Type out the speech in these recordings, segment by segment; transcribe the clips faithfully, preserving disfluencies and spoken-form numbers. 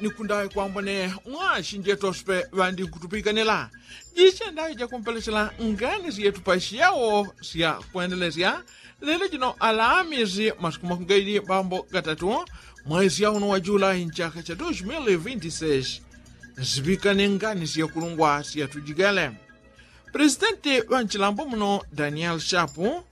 Nikundawe kwambone mwashi njetoswe ŵandinkutupikane la jiche ndawe jakumpelechela ngani syetu pasyawo sya kwendelesya. Lelo jino alamisi masiku makungaili bambo gatatu mwaisya uno wa julai nchaka cha dos mil vinti seis. Sipikane ngani syakulungwa syatujigele. Presidenti ŵa nchilambo muno daniel shapu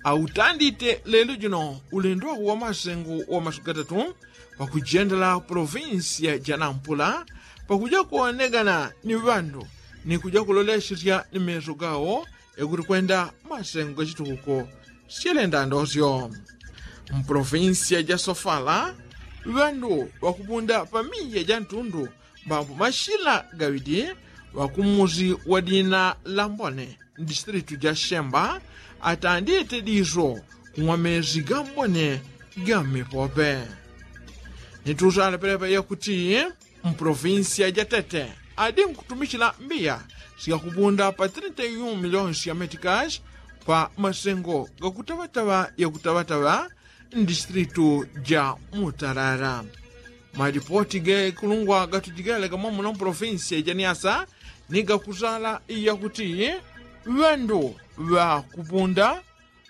autandite lelo jino ulendo wa masengo wa masiku gatatu pakujendela provinsi ya janampula pakuja kuonegana ni ŵandu ni kuja kulolesesya ni meso gawo yakuti kwenda masengo gachitukuko. Syelenda ndosyo mprovinsi ya jasofala ŵandu ŵakupunda pamiya jantundu mbambo mashila gaŵidi ŵakumusi wa dina la mbone mdistritu ja shemba atandite diso kung'wa mesi ga mbone ga mmipope. Nitusala pelepa yakuti mprovinsi ya jatete adinkutumichila mbiya syakupunda pa trinta i un milionsi ya metikashi pa masengo gakutaŵataŵa yakutaŵataŵa mdistritu ja mutarara. Malipoti gekulungwa gatujigele gamwamuno mprovinsi ya janiasa ni gakusala yakuti ŵandu ŵakupunda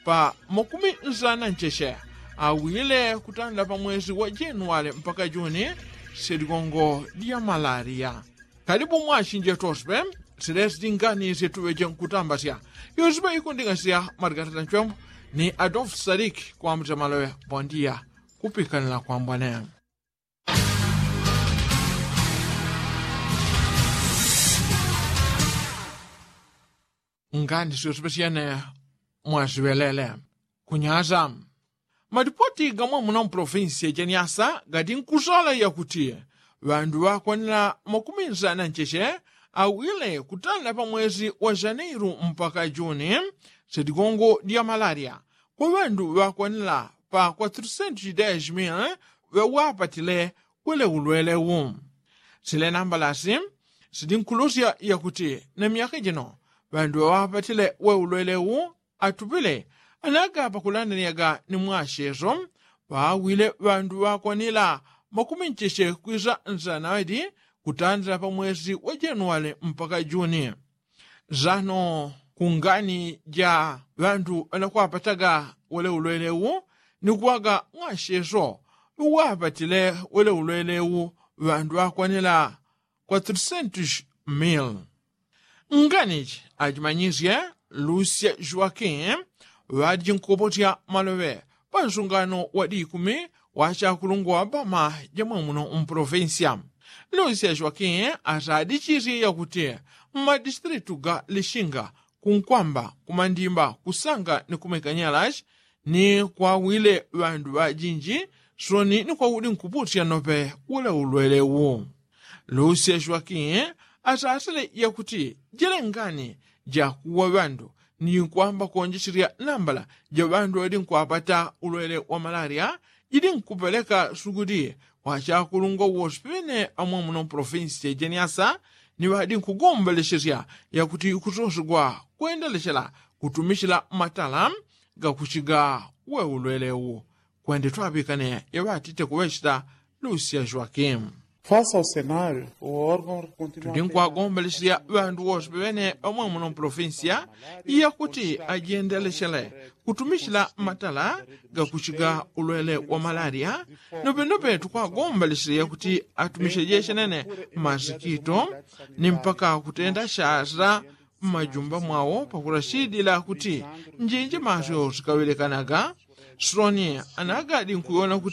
pa makumi nsana ncheche awile kutanda pa mwesi wa januwale mpaka juni syeligongo lya malariya. Kalibu mwashi njetoswe silesi ngani syetuŵeje nkutambasya. Yosiŵe ikunding'asya margarita nchwembo ni adolfu saliki kwambuta maloŵe. Bondiya kupikanila kwambone. Ngani syosiŵe syene mwasiŵelele kunyasa. Malipoti gamwamuno mprovinsi ya janiasa gatinkusala yakuti ŵandu ŵakwanila makumi nsana ncheche awile kutanda pa mwesi wa janeiru mpaka juni sedigongo dya malariya kwa ŵandu ŵakwanila pa kwa three hundred days mil ŵewapatile wele ulwele wu. Sile nambalasi sidinkulusya yakuti na myaka jino ŵandu ŵewapatile we ulwele wu atupile anaga pakulandanyaga ni mwasheso ŵawile ŵandu ŵakwanila makumi ncheche kwisa nsana ŵadi kutandila pa mwesi wa januwale mpaka juni. Sano kungani ja ŵandu ŵanakwapataga wele ulwele wu ni kuwaga mwasheso ŵewapatile wele ulwele wu ŵandu ŵakwanila kwa three hundred mil. Nganichi achimanyisye lucia joaquin ŵadiji nkupotya maloŵe pa nsungano wa dikumi wa chakulungwa wa boma jamwamuno mprovinsia. Lucia joaquin asadichisye yakuti mmadistritu ga lishinga kunkwamba kumandimba kusanga ni kumekanyalachi ni kwawile ŵandu ŵajinji soni ni kwawudi nkupusya nope wule ulwele wu. Lusia joakin asasile yakuti jele ngani jakuwa ŵandu ni kwamba konjeselya nambala ja ŵandu ŵadi nkwapata ulwele wa malaria jidi nkupeleka sugudi wa chakulungwa wose ŵene amwamuno provinsi ya jeniasa ni ŵadi nkugombelesesya yakuti kusosegwa kwendelechela kutumisila matala gakuchiga we ulwele wu. Kwende twapikane yaŵatite kuŵechela lusia joakim. Fasa o senario o organ. Tudi nkwagomba lisya ŵandu wose ŵene ŵamwamuno provinsia yakuti ajendelechele kutumisila matala gakuchiga ulwele wa malaria. Nopenope tukwagomba lisya yakuti atumishe jeshenene masikito ni mpaka kutenda shasila mmajumba mwawo pakulashidila kuti njinji masyo sikaŵelekanaga. Soni anagadi nkuwona kuti